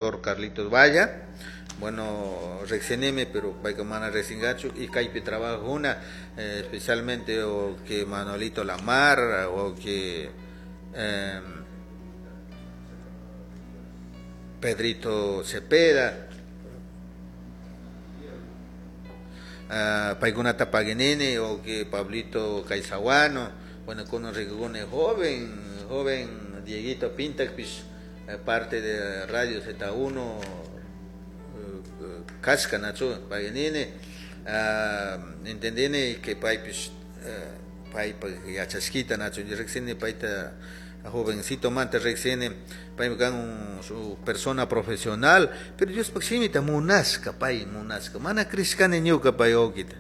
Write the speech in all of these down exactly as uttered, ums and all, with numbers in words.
Carlitos Valla, bueno, rexeneme, pero payka mana rexingachu y kaypi trabajuna, eh, especialmente o que Manolito Lamar o que eh, Pedrito Cepeda, uh, paykunata paguinini o que Pablito Caizahuano, bueno, con rikukuni joven, joven Dieguito Pintakpish, parte de Radio Z uno kashka nachu paguinini, uh, entendini que paypish uh, paypak yachashkita nachu riksini payta jovencito manta riksini paymi kan su persona profesional, pero Diospaq shimita munashka pay munashka mana crishkani ñuka pay wawkita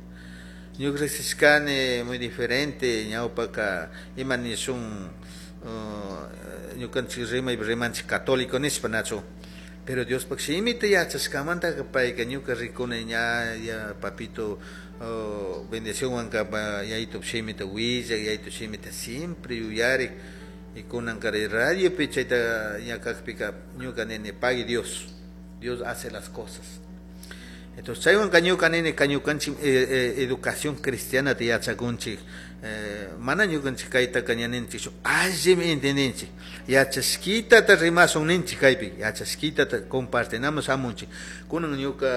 ñuka riksishkani muy diferente ñawpaka ima nishun ñukanchik rimaypi rimanchik católico nishpa nachu, pero Diospaq shimita yachashkamantaka payka ñuka rikuni ña ya papito oh, bendicionwanka yayitup shimita willak yayitup shimita siempre yuyarik y kunankari radiopi chayta ña kakpika ñuka nini pagui Dios, Dios hace las cosas. Entonces chaywanka ñuka nini ñukanchik eh, eh, educación cristiana ta yachakunchik, eh, mana ñukanchik kaytaka ña ninchikchu allimi entendinchik yachashkitata rimasun ninchik kaypi yachashkitata compartinamos hamunchik kunan ñuka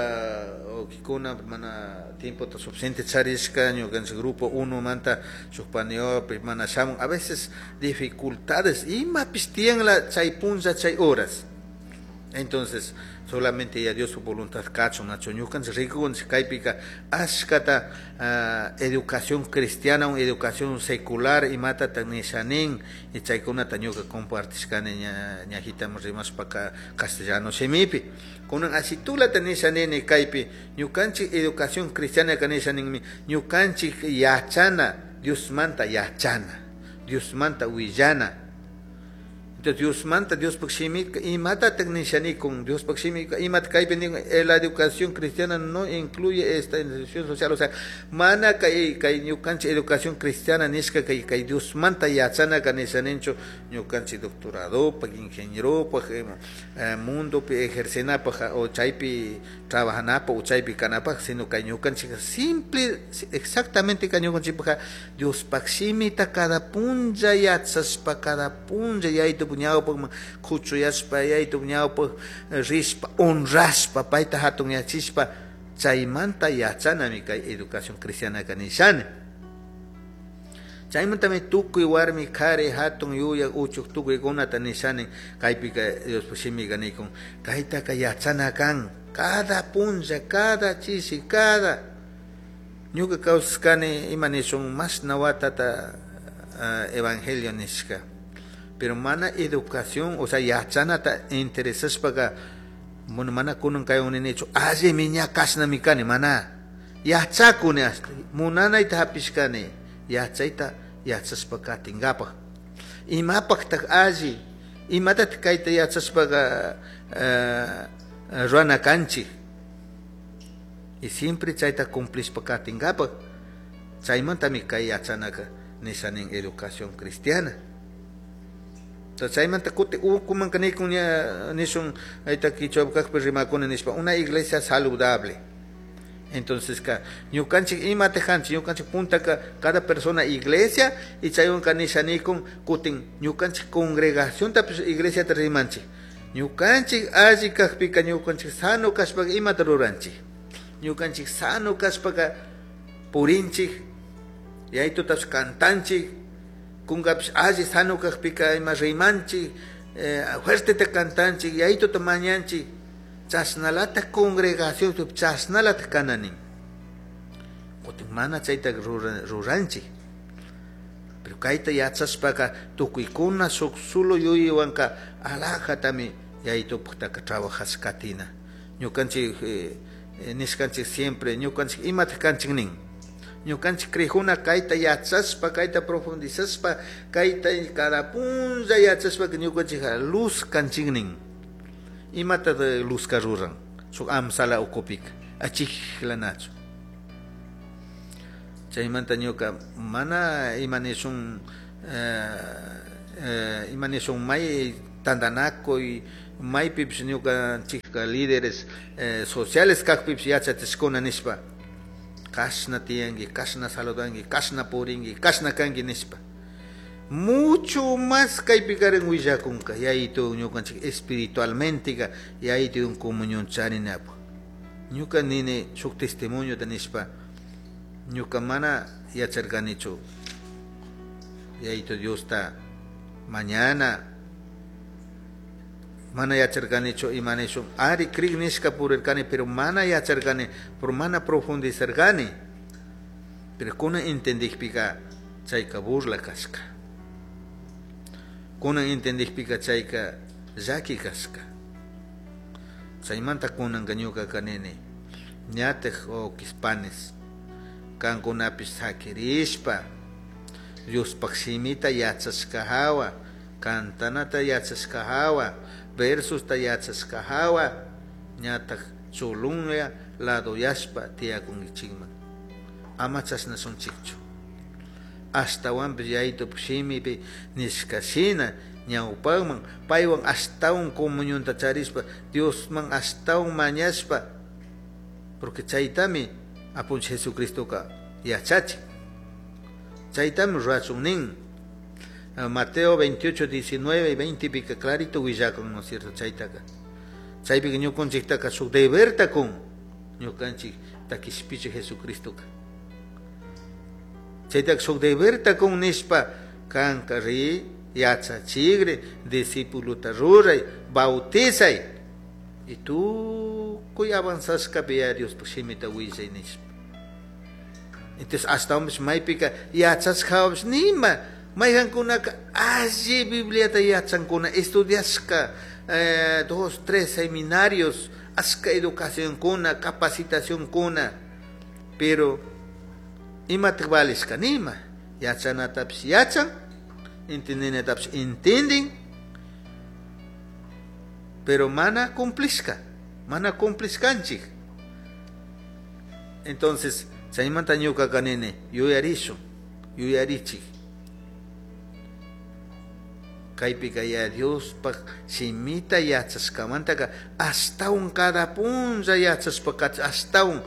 wawkikuna mana tiempota suficiente charishka ñukanchik grupo uno manta shuk paniopi mana shamun a veces dificultades imapish tiyanla chay punlla chay horas. Entonces solamente ya Dios su voluntad kachun nachu ñukanchik rikukunchik kaypika ashkata uh, educación cristiana o educación secular imatata nishanin y chaykunata ñuka compartishkani ña ñajitaman rimashpaka castellano shimipi kunan ashitulata nishanini kaypi ñukanchik educación cristiana ka nishaninmi ñukanchik yachana Diosmanta yachana Diosmanta willana. Entonces Diosmanta Diospaq shimika imatataq nishanikun Diospaq shimika imata kaypi nin la educación cristiana no incluye esta institución social, o sea mana kay kay ñukanchik educación cristiana nishka kay kay Diosmanta yachanaka nishaninchu ñukanchik doctoradopaq ingenieropaq eh, mundopi ejercenapaq o chaypi trabajanapaq o chaypi kanapaq sino kay ñukanchik simple exactamente kay ñukanchikpaq Diospaq shimita cada punlla yachashpa cada punlla yaytup ñawpaqman kuchuyashpa yaytup ñawpaq rishpa honrashpa payta hatunyachishpa chaymanta yachanami kay educación cristiana nishani chaymantami tukuy warmi qhari hatun yuyaq uchuk tukuykunata nishani kaypika Diospaq shimika nikun kaytaka yachana kan cada punlla cada chishi cada ñuka kawsashkani ima nishun mashna watata uh, evangelio nishka pero mana educación, o sea, yachanata interesashpaka, bueno, mana kunan kaywan ninichu allimi ña kashnami kani mana yachakuni hasta munanayta hapishkani yachayta yachashpa katinkapak imapaqtaq alli imatataq kayta yachashpaka uh, ruwana kanchik y siempre chayta cumplishpa katinkapak chaymantami kay yachanaka nishanin educación cristiana. Entonces chaymanta kuti ukumanka nikun ña nishun ayta kichwa kaqpi rimakuni nishpa una iglesia saludable. Entonces ka ñukanchik imata kanchik ñukanchik puntaka cada persona iglesia y chaywanka nishanikun kutin ñukanchik congregaciontapish iglesiata rimanchik ñukanchik alli kaqpika ñukanchik sano kashpaka imata ruranchik ñukanchik sano kashpaka purinchik yaytutapish cantanchik kunkapish alli sano kaqpika ima rimanchik eh, fuerteta cantanchik yaytuta mañanchik chashnalata congregación chashnalata kananin kutin mana chayta ruranchik pero kayta yachashpaka tukuykuna shuk solo yuyaywanka alajatami yaytupaqtaka trabajash katina ñukanchik eh, nishkanchik siempre ñukanchik imataq kanchik nin ñukanchik crijuna kayta yachashpa kayta profundizashpa kayta cada punlla yachashpaka ñukanchik luz kanchik nin imata luzka ruran shuk amsala ukupika achiklanachu chaymanta ñuka mana ima nishun eh, eh, ima nishun may tantanakuy maypipish ñukanchikka líderes eh, sociales kajpipish yachachishkuna nishpa kashna tiyanki, kashna saludanki, kashna purinki, kashna kanki nishpa. Mucho más kaypikarin willakunka yayitu ñukanchik espiritualmente yayitu comunión charinapuk. Ñuka nini shuk testimoniota nishpa ñuka mana yacharkanichu yayitu Diosta mañana mana yacharkanichu ima nishun ari krik nishka purirkani pero mana yacharkani por mana profundizarkani pero kunan entendikpika chayka burla kashka, kunan entendikpika chayka llaki kashka. Chaymanta kunanka ñukaka nini ñataj wawqispanes kankunapish sakirishpa Diospaj shimita yachashka hawa, kantanata yachashka hawa, versusta yachashka hawa ñataj chulunlla ladoyashpa tiyakunkichikman. Ama chashnashunchikchu. Ashtawanpish yayitupak shimipi nishka shina ñawpakman paywan ashtawan comunionta charishpa Diosman ashtawan mañashpa, porque chaytami apunchik Jesucristoka yachachin, chaytami rurachun nin. Mateo veintiocho, diecinueve y veinte pika clarito willakun, ¿no es cierto? Chaytaka chaypika ñukanchiktaka shuk deberta kun ñukanchik takishpichik Jesucristoka chaytaka shuk deberta kun nishpa kanka ri yachachigri discipuluta ruray bautizay y tukuy avanzashkapi ya Diospaj shimita willay nishpa. Entonces ashtawanpish maypika yachashkawapish nima mayqankunaka alli Bibliata yachankuna estudiashka eh, dos, tres seminarios, ashka educacionkuna, capacitacionkuna, pero imataj valishka nima yachanatapish yachan, entendinatapish entendin, pero mana cumplishka, mana cumplishkanchik. Entonces chaymanta ñukaka nini yuyarishun, yuyarichik kaypika ya Diospaj shimita yachashkamantaka ashtawan cada punlla yachashpa ashtawan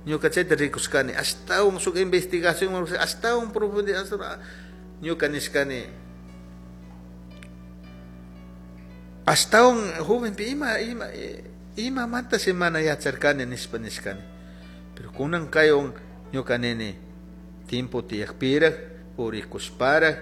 ñuka chayta rikushkani ashtawan shuk investigación ashtawan profundidad ñuka nishkani ashtawan jovenpi ima ima imamanta mana yacharkani nishpa nishkani. Pero kunan kaywan ñuka nini tiempo tiyakpiraj purikushparaj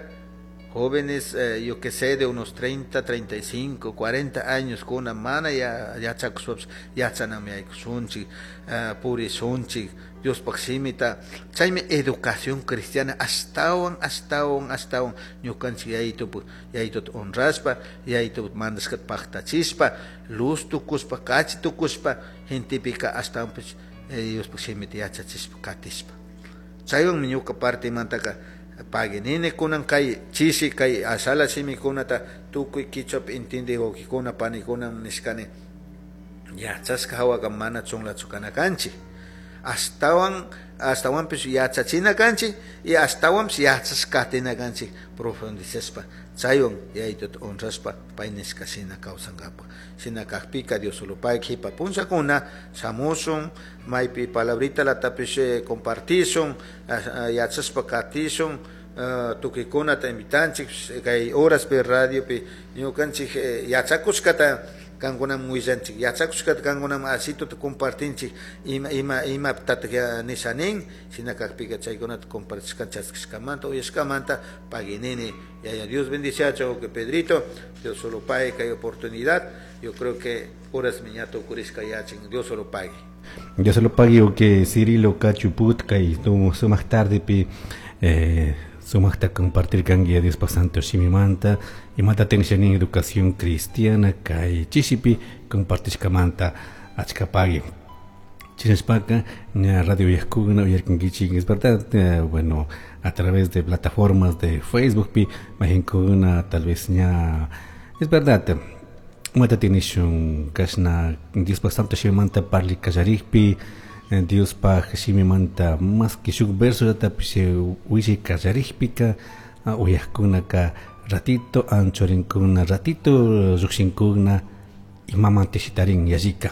jóvenes, eh, yo que sé, de unos treinta, treinta y cinco, cuarenta años, kuna mana ya yachakushpapish yachanami yaykushunchik, uh, purishunchik Diospaj shimita. Chaymi educación cristiana ashtawan ashtawan ashtawan ñukanchik yayitupak yayituta honrashpa yayitupak mandashkata paktachishpa luz tukushpa kachi tukushpa gentepika ashtawanpish eh, Diospaj shimita yachachishpa katishpa. Chaywanmi ñuka partimantaka paginini kunan kay chishi kay ashala shimikunata tukuy kichwapi intindi wawqikuna panikuna nishkani yachashka hawaka mana chunlachu kana kanchik, ashtawan ashtawanpish yachachina kanchik y ashtawanpish yachashka katina kanchik profundizashpa chaywan yayituta honrashpa pay nishka shina kawsankapak. Shina kakpika Dios solo pay kipa punllakuna shamushun maypi palabrita latapish compartishun yachashpa katishun tukuykunata invitanchik kay horaspi radiopi ñukanchik yachakushkata kankunaman willanchik, yachakushkata kankunaman asituta compartinchik ima ima imapitatak nisha nin shina kakpika chaykunata compartishka chaskishkamanta uyashkamanta paginini. Yaya Dios bendiciacho que Pedrito, Dios solo pague que hay oportunidad. Yo creo que horas miñato kurishka yachin, Dios solo pague. Dios solo pague o que Cirilo Cachuput kay sumaq tarde pi eh, sumaqta compartir kanki Dios santo shimimanta imata tensionin educación cristiana kay chishipi compartishkamanta achkapagui. Chinashpaka radio uyajkuna uyarkankichik, es verdad, eh, bueno, a través de plataformas de Facebook pi majinkuna tal vez ña es verdad imata tinishun kashna Diospaj santo shimimanta parli kallarikpi Diospaj shimimanta más que shuk verso yatapish willi kallarikpika uyajkunaka ratito anchorinkuna ratito llukshinkuna Imaman shitarin yallika.